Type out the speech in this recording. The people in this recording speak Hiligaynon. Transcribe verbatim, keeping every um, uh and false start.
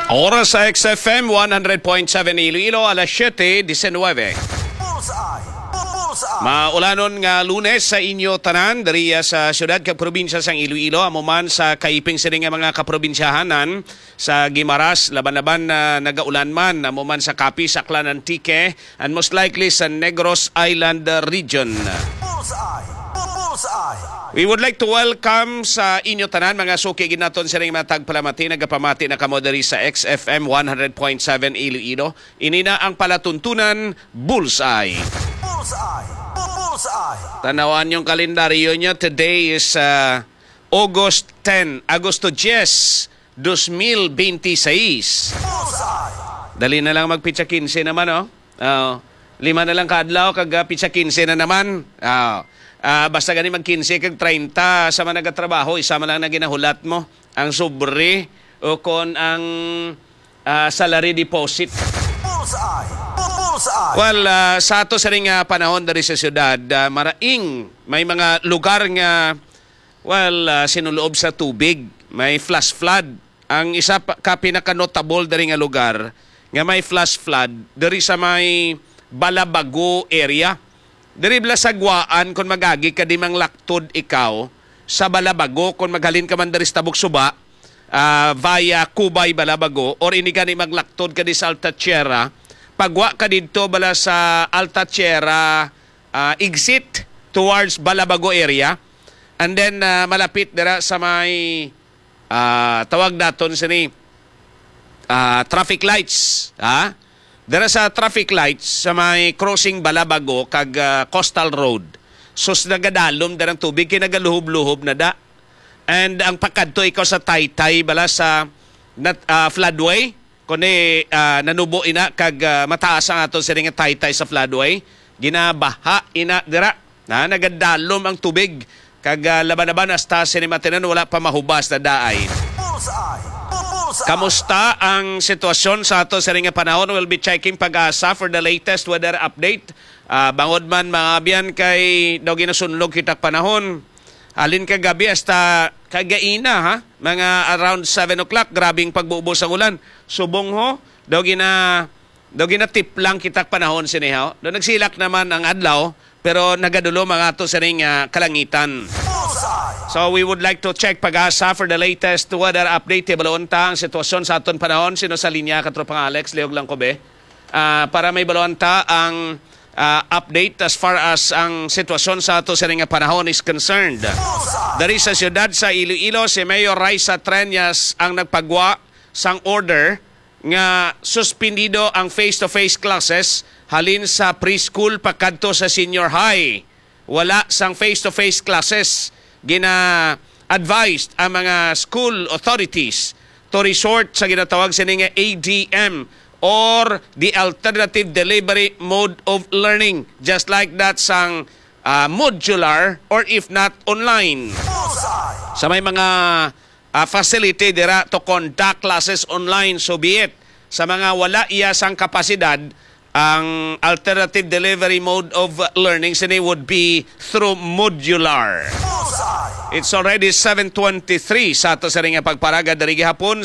Oras sa X F M one hundred point seven Iloilo, alas siyete disinwebe. Bullseye! Bullseye! Maulanon nga Lunes sa inyo tanan diri sa siyudad kag probinsya sang Iloilo, amo man sa kaiping sini nga mga kaprobinsyahanan, sa Guimaras, laban-laban na nagaulan man, amo man sa Capiz, Aklan, Antique, and most likely sa Negros Island region. Bullseye! Bullseye! We would like to welcome sa inyo tanan, mga suki gid naton sining mga tagpalamati, nagapamati na kamo diri sa X F M one hundred point seven Iloilo. Ini na ang palatuntunan, Bullseye. Bullseye! Bullseye! Tanawan yung kalendaryo niya. Today is uh, August ten, Agosto diyes, dos mil benti seis. Bullseye! Dali na lang magpitsa kinse naman, oh. Oh, lima na lang ka adlaw kag ah, pitsa kinse na naman. Ah, ah, basta gani mag kinse kag treinta sa mga nagatrabaho, isa man lang na ginahulat mo, ang sobre o kon ang ah, salary deposit. Bullseye! Bullseye! Well, ah, sa ato sining ah, panahon diri sa syudad, ah, maraing may mga lugar nga, well, ah, sinuloob sa tubig, may flash flood. Ang isa pa, ka pinaka-notable diri nga lugar nga may flash flood diri sa may Balabago area. Diri bala sa Guaan, kung magagi ka di manglaktod ikaw sa Balabago, kung maghalin ka man diri sa Tabok Suba, ah, via Cubay, Balabago, or ini gani maglaktod ka di sa Alta Tierra, pagwa ka didto bala sa Alta Tierra, ah, exit towards Balabago area, and then ah, malapit dira sa may ah, tawag naton sini ah, traffic lights, ha? Dira sa traffic lights sa may crossing Balabago kag ah, Coastal Road. Sus, nagadalom dira ang tubig kay nagaluhob-luhob na da. And ang pakadto ikaw sa Taytay bala sa nat, ah, floodway, kundi ah, nanubo ina kag ah, mataas ang aton sini nga Taytay sa floodway. Ginabaha ina dira. Na nagadalom ang tubig kag ah, laban-laban hasta sini matinan wala pa mahubas na daay. Bullseye! Bullseye! Kamusta ang sitwasyon sa ato sini nga panahon? We'll be checking Pag-asa for the latest weather update. Ah, bangod man, mga abyan, kay daw ginasunlog kita panahon. Halin kagabi hasta kagaina, ha? Mga around seven o'clock, grabing pagbubo sa ulan. Subong ho, daw gina daw ginatiplang kita panahon sini, ha? Daw nagsilak naman ang adlaw, pero nagadulom ang ato sining ah, kalangitan. Bullseye! So we would like to check Pag-asa for the latest weather update. Hibalon ta ang sitwasyon sa aton panahon. Sino sa linya, Katropang Alex? Liog lang ko, be. Ah, para may balon ta ang ah, update as far as ang sitwasyon sa ato sining nga panahon is concerned. Dari sa siyudad sa Iloilo, si Mayor Raisa Treñas ang nagpagwa sang order nga suspendido ang face-to-face classes halin sa preschool pakadto sa senior high. Wala sang face-to-face classes. Gina-advised ang mga school authorities to resort sa ginatawag sini nga A D M or the alternative delivery mode of learning, just like that sang ah, modular or if not online. Sa may mga ah, facility dira to conduct classes online, so be it. Sa mga wala iya sang kapasidad, ang alternative delivery mode of learning sini would be through modular. It's already seven twenty-three sa ato sa ring pagparaga diri gihapon.